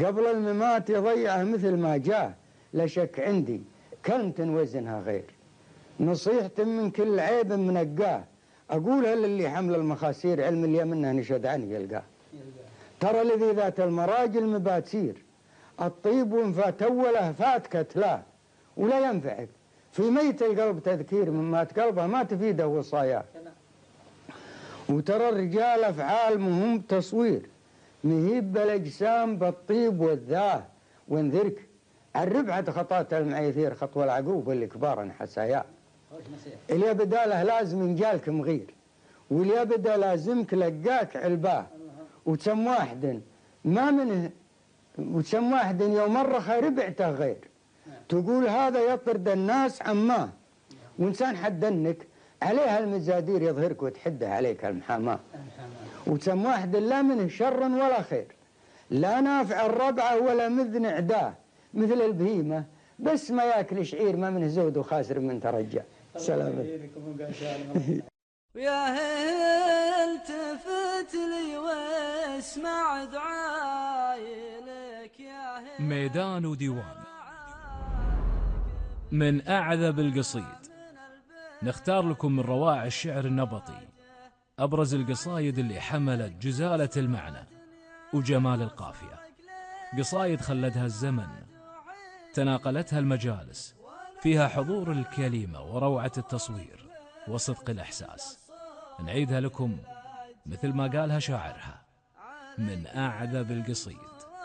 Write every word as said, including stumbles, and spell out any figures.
قبل الممات يضيعه مثل ما جاه، لا شك عندي كلمة وزنها غير، نصيحة من كل عيب منقاه، أقولها للي حمل المخاسير، علم اللي منها نشد عنه يلقاه. ترى الذي ذات المراجل مباتير، الطيب وإن فات أوله فات كتلاه، ولا ينفعك في ميت القلب تذكير، من مات قلبه ما تفيده وصاياه. وترى الرجال أفعال مهم تصوير، مهيب بالأجسام بالطيب والذاه، وانذرك الربعة خطات المعيثير، خطوة العقوب اللي كبارا حساياه. اللي بداله لازم ينجالك مغير، واللي بدا لازمك لقاك علباه، وتسم واحد ما منه، وتسم واحد يوم مرة ربعته غير، تقول هذا يطرد الناس عماه، وإنسان حدنك عليها المزادير يظهرك وتحده عليك المحاماه. وتسم واحد لا منه شر ولا خير، لا نافع الربعة ولا مذن عداه، مثل البهيمة بس ما ياكل شعير، ما منه زود وخاسر من ترجع. سلام. ويا التفت لي واسمع دعاي لك يا ميدان وديوان من أعذب القصيد، نختار لكم من روائع الشعر النبطي أبرز القصايد اللي حملت جزالة المعنى وجمال القافية، قصايد خلدها الزمن، تناقلتها المجالس، فيها حضور الكلمة وروعة التصوير وصدق الإحساس. نعيدها لكم مثل ما قالها شاعرها: من أعذب القصيد.